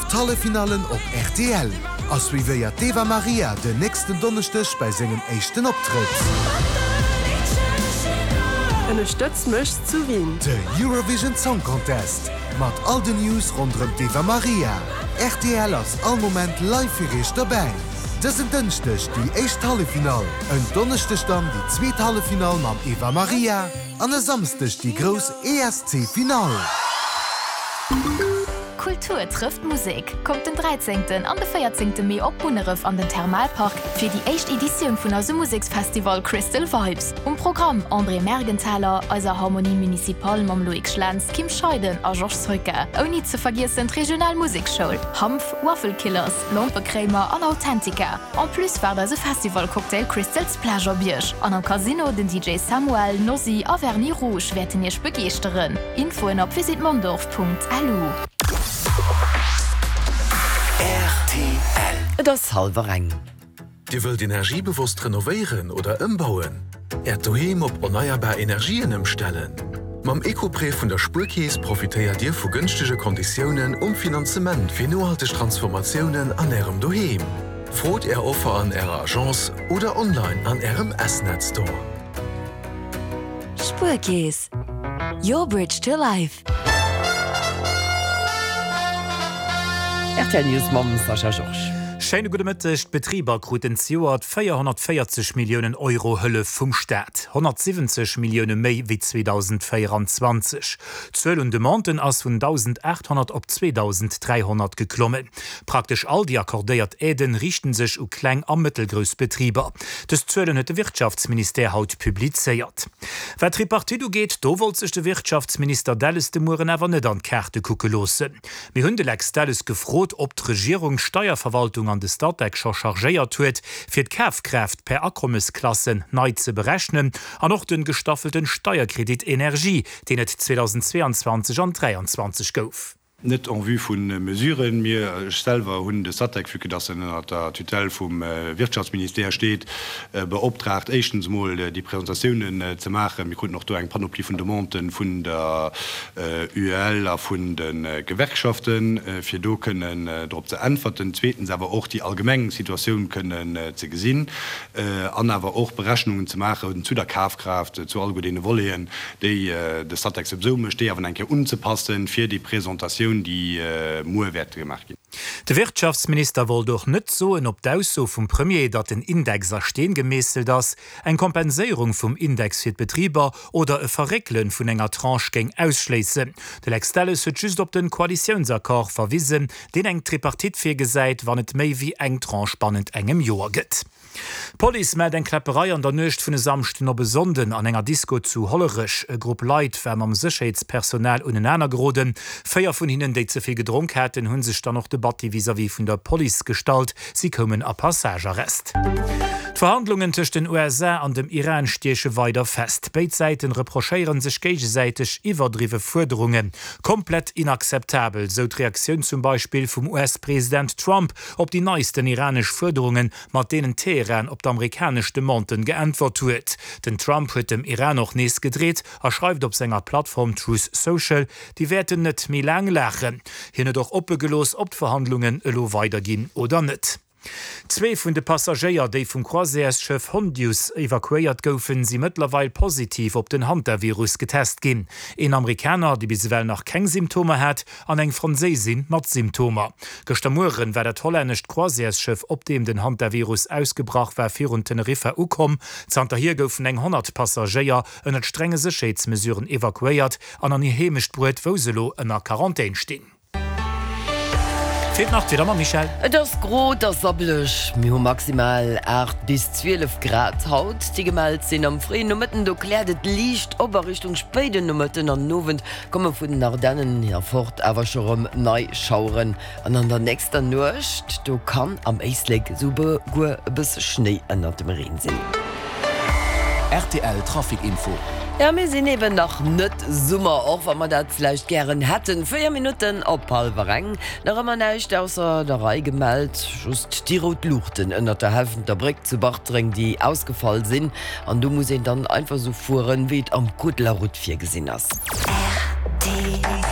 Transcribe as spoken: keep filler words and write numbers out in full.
d'Halleffinallen op rtl a suivéiert d'Eva Marija den nächsten Donneschdeg bei sengem éischten Optrëtt. Ënnerstëtz mech zu Wien. De Eurovision Song Contest mat all den News ronderëm d'Eva Marija. Rtl ass all Moment live fir iech dobäi. Dësen Dënschdeg déi éischt Halleffinall, en Donneschdeg dann déi zweet Halleffinall mam Eva Marija an e Samschdeg déi grouss E S C-Finall. Kultur trëfft Musek. Kommt den dräizéngten an de véierzéngte Mee op Munneref an den Thermalpark fir déi éischt Editioun vun eisem Museksfestival Crystal Vibes. Um Programm André Mergenthaler, eiser Harmonie Municipale mam Loïc Schlens, Kim Scheiden a Georges Soyka. Ouni ze vergiessen d'Regional Musekschoul, Hanf, Waffle Killers, Lompekréimer an Authentica. En plus waart eise Festival-Cocktail Crystal Splash op iech. An am Casino den D J Samuel, Nossi a Vernis Rouge wäerten iech begeeschteren. Infoen op visitmondorf Punkt L U. R T L. Et ass hallwer eng. Dir wëllt energiebewosst renovéieren oder ëmbauen? Äert Doheem op erneierbar Energien ëmstellen? Mam Ecoprêt vun der Spuerkeess profitéiert Dir vu gënschtege Konditiounen um Finanzement fir nohalteg Transformatiounen an Ärem Doheem. Frot Är Offer an Ärer Agence oder online an Ärem S-Net Store. Spuerkeess. Your bridge to life. R T L News mam Sascha Georges. Schéine gudde Mëtteg. D'Betriber kruten zejoert véierhonnertvéierzeg Milliounen Euro Hëllef vum Staat, honnertsiwwenzeg Millioune méi wéi zweedausendvéierenzwanzeg. D'Zuel un Demanden ass vun dausendaathonnert op zweedausend dräihonnert geklommen. Praktesch all déi accordéiert Aiden riichten sech u kleng a mëttelgrouss Betriber. Dës Zuelen huet de Wirtschaftsministère haut publizéiert. Wat d'Tripartite ugeet, do wollt sech de Wirtschaftsminister Delles de Mueren awer net an d'Kaarte kucke loossen. Mir hunn de Lex Delles gefrot, ob d'Regierung d'Steierverwaltung an de Statec scho chargéiert huet, fir d'Kafkraaft per Akommesklassen nei ze berechnen an och de gestaffelten Steierkredit Energie, deen et zweedausendzweeanzwanzeg an dräianzwanzeg gouf. Net en vue vu Mesuren. Mir, ech selwer hunn de Statec, vue que dass en ënner der Tutelle vum Wirtschaftsministère steet, beoptraagt, éischtens emol déi Presentatiounen ze maachen. Mir kruten och do eng Panoplie vun Demanden vun der U E L a vun de Gewerkschaften, fir do kënnen drop ze äntwerten. Zweetens awer och déi allgemeng Situatioun kënnen ze gesinn an awer och Berechnungen ze maachen zu der Kafkraaft, zu alleguer deene Voleten, déi de Statec souwisou mécht, déi awer nach eng Kéier unzepassen fir déi Presentatioun, déi muer wäert gemaach ginn. De Wirtschaftsminister wollt och net soen, ob d'Ausso vum Premier, datt den Index a Steen gemeesselt ass, eng Kompenséierung vum Index fir d'Betriber oder e Verréckele vun enger Tranche géing ausschléissen. De Lex Delles huet just op den Koalitiounsaccord verwisen, deen eng Tripartite virgesäit, wann et méi wéi eng Tranche bannent engem Joer gëtt. D'Police mellt eng Kläpperei an der Nuecht vun e Samschden op e Sonnden an enger Disco zu Hollerech. E Grupp Leit war mam Sécherheetspersonal unenaner geroden. Véier vun hinnen, déi ze vill gedronk haten, hunn sech dann och de Batti vis-à-vis vun der Police gestallt. Si koumen a Passagearrest. D'Verhandlungen tëscht den U S A an dem Iran stieche weider fest. Béid Säiten reprochéiere sech géigesäiteg iwwerdriwwe Fuerderungen. Komplett inakzeptabel, sou d'Reaktioun zum Beispill vum U S-President Trump op déi neisten iranesch Fuerderungen, mat deenen Teheran op d'amerikanesch Demanden geäntwert huet. Den Trump huet dem Iran och nees gedreet a schreift op senger Plattform Truth Social, déi wäerten net méi laang laachen. Hien huet och oppe gelooss, ob d'Verhandlungen elo weiderginn oder net. Zwee vun de Passagéier, déi vum Croisièresschëff Hondius evakuéiert goufen, si mëttlerweil positiv op den Hantavirus getest ginn. Een Amerikaner, dee bis ewell nach keng Symptomer hat, an eng Franséisin mat Symptomer. Gëschter Muere war dat hollännescht Croisièresschëff, op deem den Hantavirus ausgebrach war, virun Teneriffa ukomm. Zanterhier goufen eng honnert Passagéier ënner strenge Sécherheetsmesuren evakuéiert an an hir Heemecht bruecht, wou se elo ënner Quarantän stinn. Feelt nach d'Wieder mam Michèle. Et ass gro, et ass sabbeleg. Mir hu maximal aacht bis zwielef Grad haut, déi gemellt sinn. Am fréien Nomëtten do kläert et liicht op a Richtung spéiden Nomëtten an den Owend komme vun den Ardennen erfort awer scho rëm nei Schaueren. An an der nächster Nuecht do kann am Éislek souguer e bësse Schnéi ënnert dem Reen sinn. R T L Trafic Info. Ja, mir sinn eben nach net Summer, och wa mer dat vläicht gären hätten. Véier Minutten op hallwer eng. Nach ëmmer näischt ausser der Rei gemellt, just déi rout Luuchten ënnert der Helfenter Bréck zu Bartreng, déi ausgefall sinn. An do muss een dann einfach sou fueren, wéi et am Code de la Route virgesinn ass. R T L.